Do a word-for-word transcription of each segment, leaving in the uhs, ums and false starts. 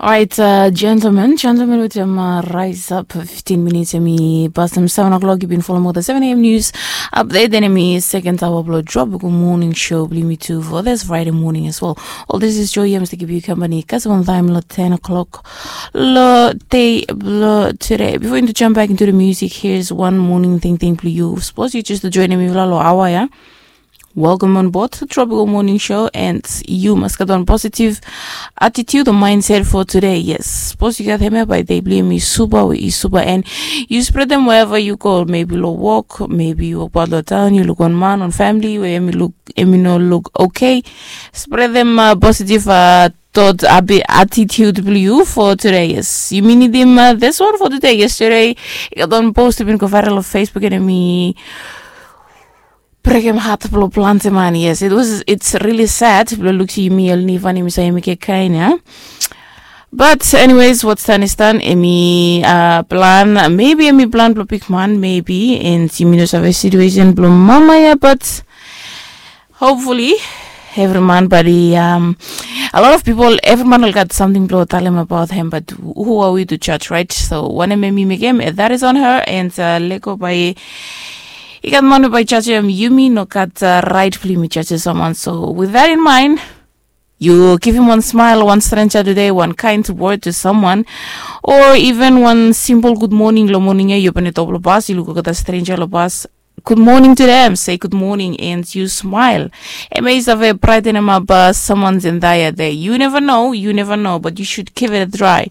Alright, uh, gentlemen, gentlemen, wetem uh, Rise Up fifteen minutes, emi pastem seven o'clock. You've been following with the seven a.m. news update. Then emi second hour blo Tropical Morning Show bli mi too for this Friday morning as well. All this is Joy Yams to give you company. Kasem on time lo ten o'clock lo day blo today. Before you jump back into the music, here's one morning thing thing blo you. Suppose you just join me lo hour, yeah? Welcome on board Tropical Morning Show, and you must get on positive attitude or mindset for today. Yes, suppose you get hemia by day bli emi super we is super, and you spread them wherever you go. Maybe lo walk, maybe you walk out of town, you look on man, on family where emi look, emi no look okay. Spread them uh, positive uh, thought abi attitude blo you for today. Yes, you mean him uh, this one for today. Yesterday, you got on post been go viral on Facebook, and emi brekem hat blo plante man. Yes, it was, it's really sad blo luksi yumi el nivan yumi sa yumi ke kain ya. But anyways, what's done is done. Emi uh, plan, maybe emi plan blo big man, maybe, and yumi no save situation blo mama ya, but hopefully every man body um a lot of people, every man will got something blo talem about him, but who are we to judge, right? So wanem emi mekem, that is on her, and uh, lego by i gat man we by judge him. Yumi no gat uh, right blo yumi judge someone. So with that in mind, you give him one smile, one stranger today, one kind word to someone, or even one simple good morning lo morning ya. You open it up lo bus, you look at a stranger lo bus, good morning to them, say good morning, and you smile. Amazed of a brighten him up uh, someone's entire day. You never know, you never know, but you should give it a try.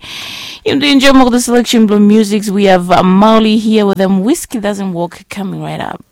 Yumi do enjoy more the selection blo music. We have uh, Mauli here with them. Whiskey doesn't work coming right up.